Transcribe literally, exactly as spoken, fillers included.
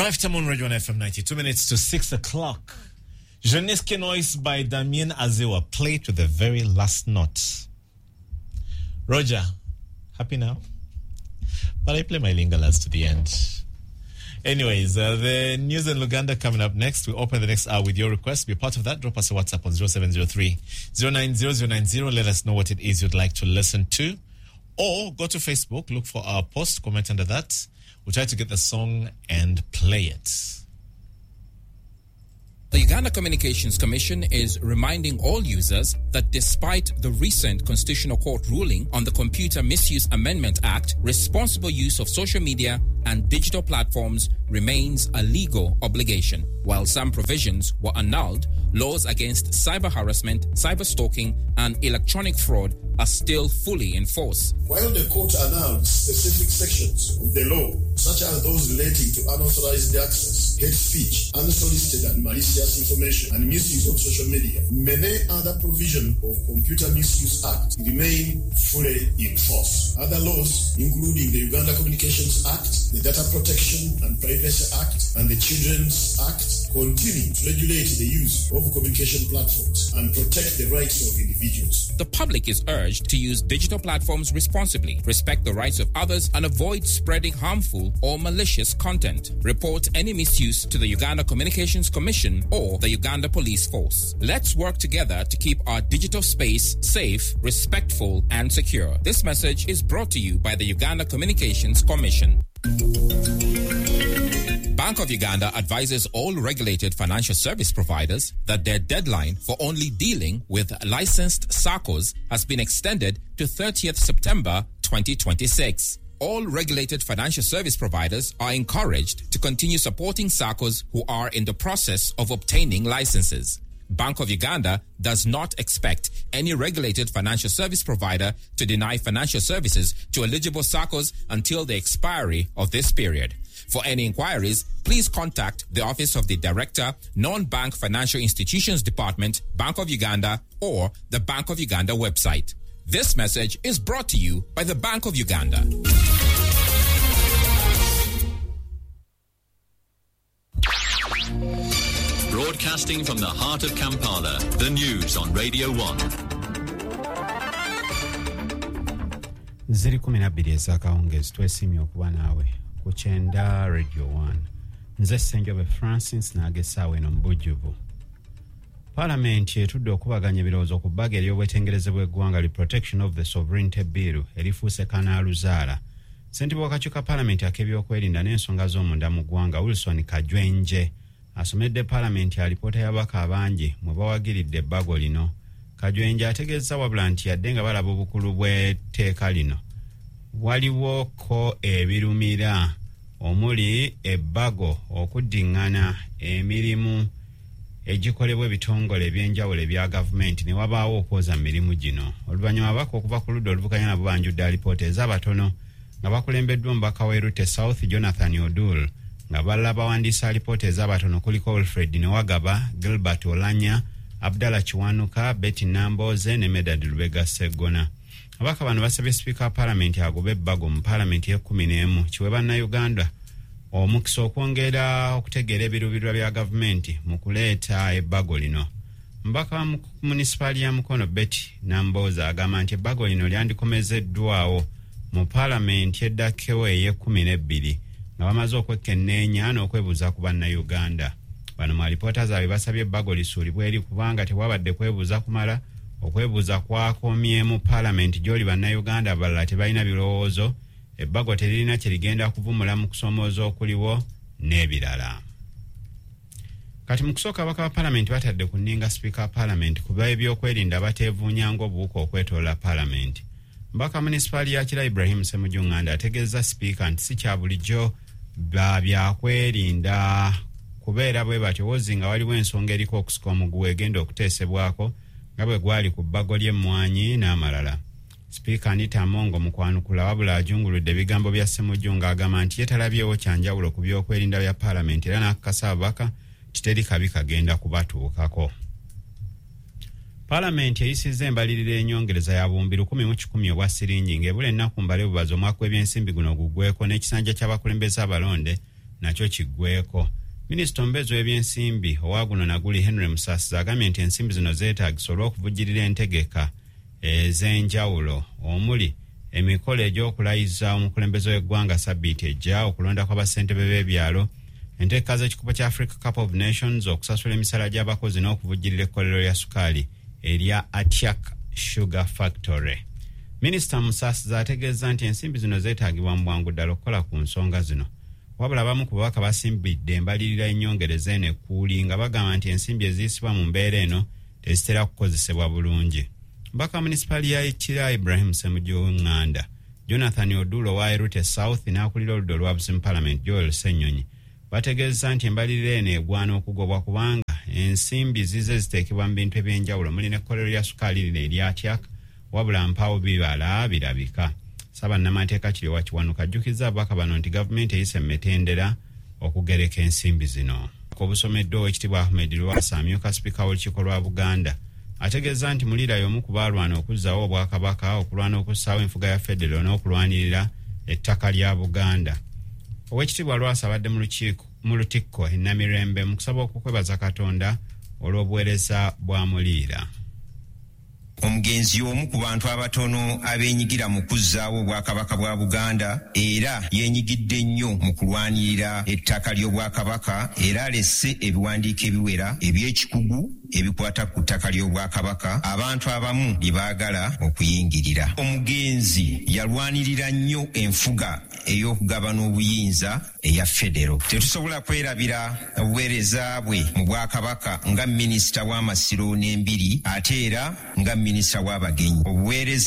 Drive Time on Radio one F M ninety, two minutes to six o'clock. Jeunesse Noise by Damien Azewa. Play to the very last note. Roger, happy now? But I play my Lingalas to the end. Anyways, uh, the news in Luganda coming up next. We open the next hour with your request. Be part of that. Drop us a WhatsApp on zero seven zero three, zero nine zero zero nine zero. Let us know what it is you'd like to listen to. Or go to Facebook, look for our post, comment under that. We'll try to get the song and play it. The Uganda Communications Commission is reminding all users that despite the recent Constitutional Court ruling on the Computer Misuse Amendment Act, responsible use of social media and digital platforms remains a legal obligation. While some provisions were annulled, laws against cyber harassment, cyber stalking, and electronic fraud are still fully in force. While the court annulled specific sections of the law, such as those relating to unauthorized access, hate speech, unsolicited and malicious information, and misuse of social media, many other provisions of Computer Misuse Act remain fully in force. Other laws, including the Uganda Communications Act, the Data Protection and Privacy Act, and the Children's Act, continue to regulate the use of communication platforms and protect the rights of individuals. The public is urged to use digital platforms responsibly, respect the rights of others, and avoid spreading harmful or malicious content. Report any misuse to the Uganda Communications Commission or the Uganda Police Force. Let's work together to keep our digital space safe, respectful, and secure. This message is brought to you by the Uganda Communications Commission. Bank of Uganda advises all regulated financial service providers that their deadline for only dealing with licensed SACCOs has been extended to thirtieth September twenty twenty-six. All regulated financial service providers are encouraged to continue supporting SACCOs who are in the process of obtaining licenses. Bank of Uganda does not expect any regulated financial service provider to deny financial services to eligible SACCOs until the expiry of this period. For any inquiries, please contact the Office of the Director, Non-Bank Financial Institutions Department, Bank of Uganda, or the Bank of Uganda website. This message is brought to you by the Bank of Uganda. Broadcasting from the heart of Kampala, the news on Radio one. Ziri kumi na bbiri ez'akawungeezi, twesiimye okuba naawe ku kyenda Radio one. Nze Ssenjobe Francis n'agesaawo eno mu bujjuvu. Paalamenti etudde okubaganya ebirowoozo ku bbago ery'obwetengereze bw'eggwanga li Protection of the Sovereignty Bill erifuuse kanaaluzaala. Ssentebe w'akakiiko ka paalamenti ak'ebyokwerinda n'ensonga z'omunda mu ggwanga Wilson Kajwenje asomedde paalamenti alipoota y'ababaka abangi mwe bawagiridde ebbago lino. Kajwenje ategeezza wabula nti yadde nga balaba obukulu bw'etteeka lino, waliwo ko ebirumira omuli ebbago okuddiŋŋana emirimu egikolebwa ebitongole ebyenjawulo ebya gavumenti ne wabaawo okwoza mu mirimu gino. Oluvannyuma ababaka okuva ku ludda oluvuganya nabo banjudde alipoota ez'abatono nga bakulembeddwa omubaka w'e Rute South Jonathan Odul, nga balala bawandiisa alipoota ez'abatono kuliko Wilfred Newagaba, Gilbert Olanya, Abdallah Kiwanuka, Betty Namboze ne Medard Lubega Sseggona. Ababaka bano basabye sipiika wa paalamenti agobe ebbago mu paalamenti y'ekkumi n'emu kiwe bannayuganda omukisa okwongera okutegeera ebiruubirirwa bya gavumenti mu kuleeta ebbago lino. Omubaka wa munisipaali ya Mukono Betty Namboze agamba nti ebbago lino lyandikomezeddwawo mu paalamenti eddakkewo ey'ekkumi n'ebbiri nga bamaze okwekenneenya n'okwebuuza ku bannayuganda. Bano mu alipoota zaabwe basabye ebbago lisuulibwe eri kubanga tewabadde kwebuuza kumala. Okwebuuza kwakomye mu paalamenti gy'oli bannayuganda abalala tebalina birowoozo, ebbago teririna kye ligenda kuvumula mu kusoomooza okuliwo n'ebirala. Kati mu kusooka ababaka ba paalamenti batadde ku nninga sipiika wa paalamenti ku b'ebyokwerinda bateevuunya ng'obuwuka okwetoloola paalamenti. Omubaka munisipaali ya Kira Ibrahim Ssemujju Nganda ategeezza sipiika nti si kya bulijjo ba byakwerinda kubeera bwe batyo wozi nga waliwo ensonga eriko okusika omuguwa egenda okuteesebwako nga bwe gwali ku bbago ly'emmwanyi n'amalala. Sipiika Anita Amongo mu kwanukula wabula ajunguludde ebigambo bya Ssemujju ng'agamba nti ye talabyewo kyanjawulo ku byokwerinda bya paalamenti era n'akakasa ababaka nti teri kabi kagenda kubatuukako. Paalamenti eyisizza embalirira enyongereza ya buwumbi lukumi mu kikumi obwa siringi ng'ebula ennaku mbale bubazi omwaka gw'ebyensimbi guno guggweko n'ekisanja ky'abakulembeze abalonde Nakyo kiggweko. Minisita omubeezi w'ebyensimbi owa guno naguli Henry Musasizi agambye nti ensimbi zino zeetaagisa olw'okuvujjirira entegeka ez'enjawulo omuli emikolo egy'okulayiza omukulembeze w'eggwanga sabbiiti ejja, okulonda kw'abassentebe b'ebyalo, enteeka z'ekikopo kya Africa Cup of Nations, okusasula emisala gy'abakozi n'okuvujjirira ekkolero lya sukaali erya Atiak Sugar Factory. Minisita Musasizi ategeeza nti ensimbi zino zeetaagibwa mu bwangu ddala okukola ku nsonga zino. Wabula abamu ku babaka basimbidde embalirira ennyongereza eno ekkuuli nga bagamba nti ensimbi eziyisibwa mu mbeera eno tezitera kukozesebwa bulungi. Mbaka wa munisipaali ya Kira Ibrahim Ssemujju Nganda, Jonathan Odulo owa Erute South n'akulira oludda olwabuzi mu Parliament Joel Ssenyonyi bategeeza nti embalirira eno egwana okugobwa kubanga ensimbi zize ziteekebwa mu bintu ebyenjawulo muli n'ekkolero lya sukaali lino erya Atiak, wabula mpaawo bibala birabika. Ssaabannamateeka Kiryowa Kiwanuka ajjukizza ababaka bano nti gavumenti eyise mu mitendera okugereka ensimbi zino. Obusomeddwa Oweekitiibwa Ahmed Lwasa amyuka sipiika w'olukiiko lwa Buganda ategeeza nti Mulira y'omu ku baalwana okuzzaawo Obwakabaka, okulwana okussaawo enfuga ya federo n'okulwanirira ettaka lya Buganda. Oweekitiibwa Lwasa abadde mu lukiiko mu Lutikko e Namirembe mu kusaba okukwebaza Katonda olw'obuweereza bwa Muliira. Omugenzi y'omu ku bantu abatono abeenyigira mu kuzzaawo Obwakabaka bwa Buganda, era yeenyigidde nnyo mu kulwanirira ettaka ly'Obwakabaka, era alese ebiwandiiko ebiwera eby'ekikugu ebikwata ku ttaka ly'Obwakabaka abantu abamu lye baagala okuyingirira. Omugenzi yalwanirira nnyo enfuga ey'okugabana obuyinza eya federo. Tetusobola kwerabira obuweereza bwe mu Bwakabaka nga minisita w'Amasiro n'Embiri, ate era nga minisita w'Abagenyi. Obuweereza